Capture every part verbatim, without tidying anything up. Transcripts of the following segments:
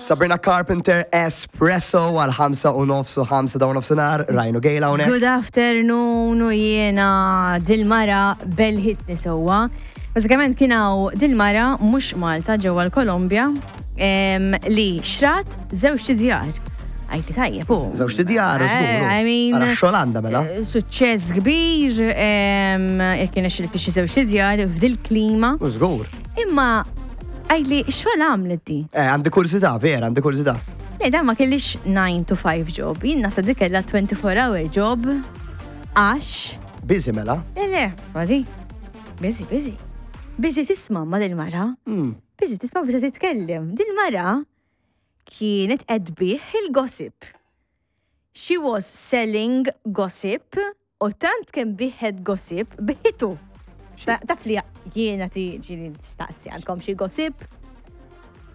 Sabrina Carpenter, Espresso, għal ħamsa u nofs u ħamsa dawn nofsinhar, Rajnu Gejla hawnhekk. Good afternoon, u jiena dil-mara belħitni sewwa. Bażikament kien hawn dil-mara mhux Malta, ġewwa l-Kolombja, em, li xrat żewġ djar. Għajti tajjeb, u. Żewġ djar, Eh, żgur. I mean, Ara xogħol mela. eh, Suċċess kbir, em, jekk kien xi tixtri żewġ djar f'dil klima. U żgur. Imma għajli xogħol għamlet di? Eh, għandi kurżità, vera, għandi kurżità. Le, dan ma kellix nine to five job. Jien naħseb dik kellha twenty-four hour job. Għax Busy mela. Le, le, smazi. Busy, busy. Busy tisma' ma dil-mara. Mm. Busy tisma' busy titkellem. Dil-mara kienet qed tbigħ il-gossip. She was selling gossip u tant kemm biegħet gossip, biegħetu. Sa- Taf li jiena tiġi nistaqsi għandkom xi gossip.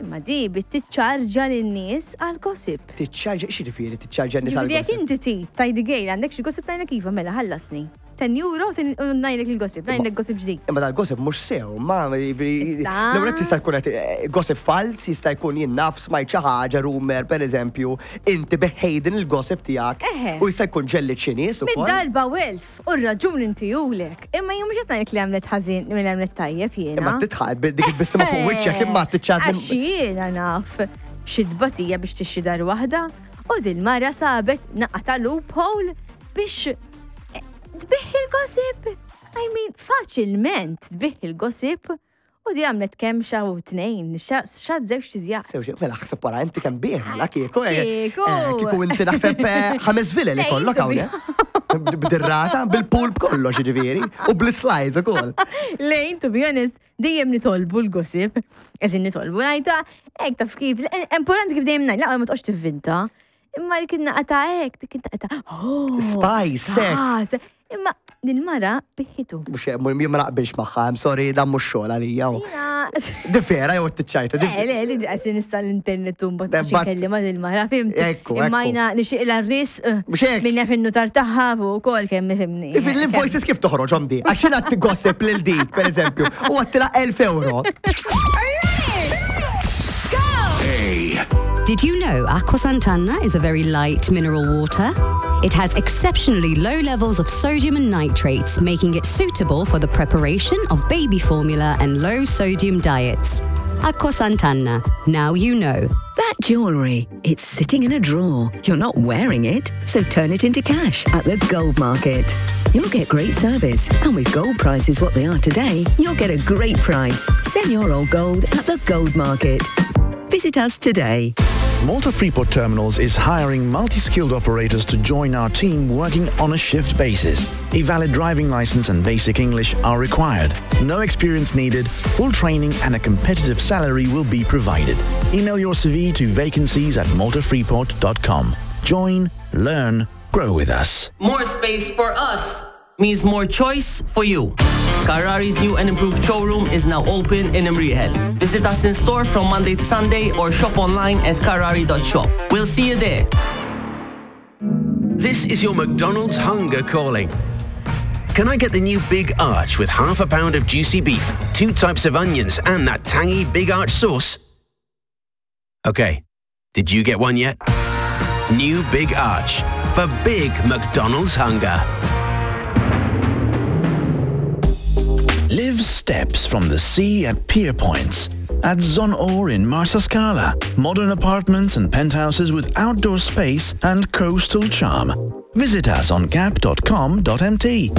Imma di bdiet tiċċarġa lin-nies għal gossip. Tiċċarġa, x'jiġifieri tiċċarġa n-nies Ġifieri jekk għal-gossip? inti ti tajdi gejl għandek xi gossip, ngħidlek iva, mela ħallasni. ten euro u ngħidlek il-gossip, ngħidlek gossip ġdid. Imma dal-gossip mhux sew, ma jiġifieri Issa. l-ewwel jista' jkun qed eh, gossip fals, jista' jkun jien naf smajt xi ħaġa, rumor pereżempju, inti beħejdin il-gossip tiegħek Eħe. u jista' jkun ġelli xi nies ukoll. Mid-darba welf, u r-raġun inti julek. Imma jum mhux qed ngħidlek li għamlet ħażin li għamlet tajjeb jiena. Imma titħaq dik il-bissima fuq wiċċek imma tiċċarġ Għax jiena naf xi tbatija biex tixtri dar waħda u dil-mara sabet naqra ta' loophole biex eh, tbigħ il-gossip. I mean, faċilment tbigħ il-gossip u di għamlet kemm xa u tnejn, xa żewġ djar. Sew xi- mela ħseb wara inti kemm bih, mela kieku. eh, Kieku. eh, Kieku inti naħseb eh, ħames vilel Eh, ikollok intu hawnhekk. B'dirrata, bil-pool b'kollox jiġifieri, u bl-slides ukoll. Lejn, to be honest, dejjem nitolbu l-gossip. Eżin nitolbu, ngħidha, ek taf kif, importanti kif dejjem ngħid, la ma toqgħodx tivvinta. Imma dik naqra ta' hekk, dik naqra ta' oh, Spice, hekk. gas. Imma din mara biegħetu. Mhux jien ma naqbilx magħha, I'm sorry, dan mhux xogħol għalija. u. Jina, Di vera jew tiċċajta? di- Le, le, li għasin issa l-internet u mbagħad Eh, għax but- inkellima dil-mara, fimt? Ekku, Imma ekku. jina nixtieq l-arris Mhux hekk. minn naf in-nutar tagħha u wkoll kemm ifhimni. Ifin l-invoices kif toħroġhom di? Għax jiena gossip lil dik, per eżempju, u għattila elf euro. Did you know Aqua Santana is a very light mineral water? It has exceptionally low levels of sodium and nitrates, making it suitable for the preparation of baby formula and low sodium diets. Aqua Santana. Now you know. That jewellery, it's sitting in a drawer. You're not wearing it, so turn it into cash at the Gold Market. You'll get great service, and with gold prices what they are today, you'll get a great price. Sell your old gold at the Gold Market. Visit us today. Malta Freeport Terminals is hiring multi-skilled operators to join our team working on a shift basis. A valid driving license and basic English are required. No experience needed, full training and a competitive salary will be provided. Email your C V to vacancies at maltafreeport dot com. Join, learn, grow with us. More space for us means more choice for you. Carrari's new and improved showroom is now open in Imrieħel. Visit us in store from Monday to Sunday or shop online at carrari dot shop. We'll see you there. This is your McDonald's hunger calling. Can I get the new Big Arch with half a pound of juicy beef, two types of onions, and that tangy Big Arch sauce? Okay, did you get one yet? New Big Arch for big McDonald's hunger. Live steps from the sea at Pier Points. At Zonor in Marsascala. Modern apartments and penthouses with outdoor space and coastal charm. Visit us on gap dot com dot M T.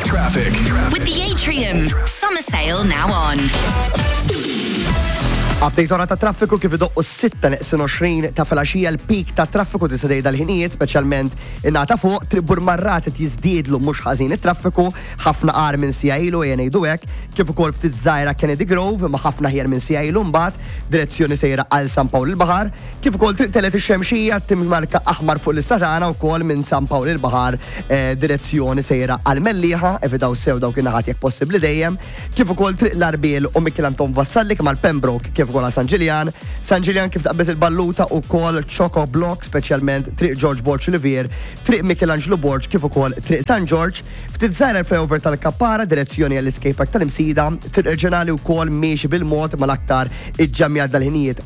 Traffic. With the Atrium. Summer sale now on. Update ora ta' traffiku kif idoqqu s-sitta neqsin għoxrin ta' filgħaxija, l-peak ta' traffiku tista' tgħid dal-ħinijiet, speċjalment in-naħa ta' fuq Triq Burmarrad jiżdiedlu mhux ħażin it-traffiku, ħafna qar minn siegħa ilu ejja ngħidu hekk, kif ukoll ftit żgħira Kennedy Grove ma ħafna ħjar minn siegħa ilu mbagħad direzzjoni sejra għal San Pawl il-Baħar, kif ukoll Triq Telgħet ix-Xemxija timmarka aħmar fuq l-lista tagħna wkoll minn San Pawl il-Baħar eh, direzzjoni sejra għal Mellieħa, evitaw sew dawk in-naħat jekk possibbli dejjem, kif ukoll Triq l-Arbiel u Mikiel Anton Vassalli kemm għal Pembroke kif ukoll San Ġiljan. San Ġiljan kif taqbeż il-Balluta ukoll chock-a-block, speċjalment Triq George Borg Olivier, Triq Michelangelo Borg kif ukoll Triq San George, ftit żgħira l-flyover tal-Kappara direzzjoni għall-skate park tal-Imsida, Triq Reġjonali wkoll miexi bil-mod mal-aktar iġġamja dal-ħinijiet.